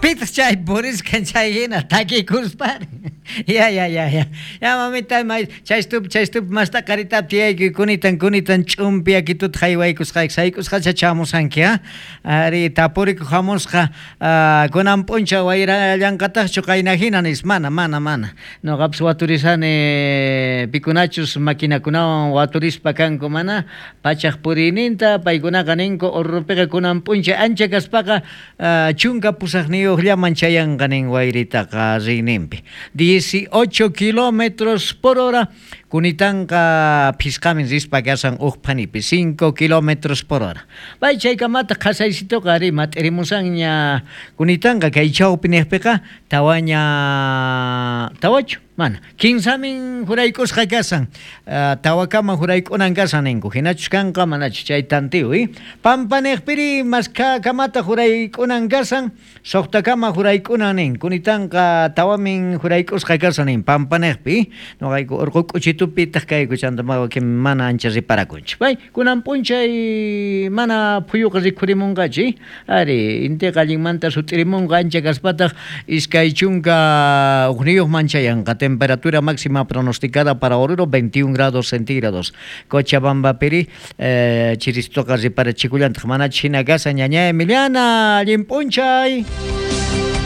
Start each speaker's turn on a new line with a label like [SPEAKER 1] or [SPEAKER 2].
[SPEAKER 1] Pitaq chay purisqan chay hina takikuspari. Ya ya ya ya. Ya mamita may chaystupi chaystupi masta qaritap tiyaykuy kunitan kunitan ch'umpi yakituta haywaykusqayki sayk'usqacha chamusanki ha. Ari tapurikuq hamusqa kunan p'unchaw wayrallanqataqchu qayna hina nispa mana mana mana. Noqapis waturisani pikunachus maquinakunawan waturispa kanku mana pachaq puriyninta paykunaqa ninku Oruropiqa kunan p'unchay ancha kaspaqa 18llaman chayanqa nin wayritaqa riyninpi. 18 kilómetros por hora kunitanqa phisqamin rispa kashan uj phanipi 5 kilómetros por hora. Pay chaykamataq qhasaysituqa ari mat'irimusanña kunitanqa kay chawpi niqpiqa tawaña tawachu mana kinsamin jurayk'usqa kashan tawakama jurayk'unan kashan ninku hinachus kanqa manachus chay tantiw i pampa niqpiri maskhakamata jurayk'unan kashan suqtakama jurayk'unan nin kunitanqa tawamin jurayk'usqa kashan nin pampa niqpi noqayku urqu k'uchitupitaq kayku chanta mana ancha riparakunchik pay kunan p'unchay mana phuyuqa rikhurimunqachu ari intiqa allinmanta sut'irimunqa ancha kaspataq 21 chayanqa temperatura máxima pronosticada para Oruro 21 grados centígrados. Cochabambapiri chiristuqa riparachikullantaq manach hina kashan ñaña Emiliana allin p'unchay.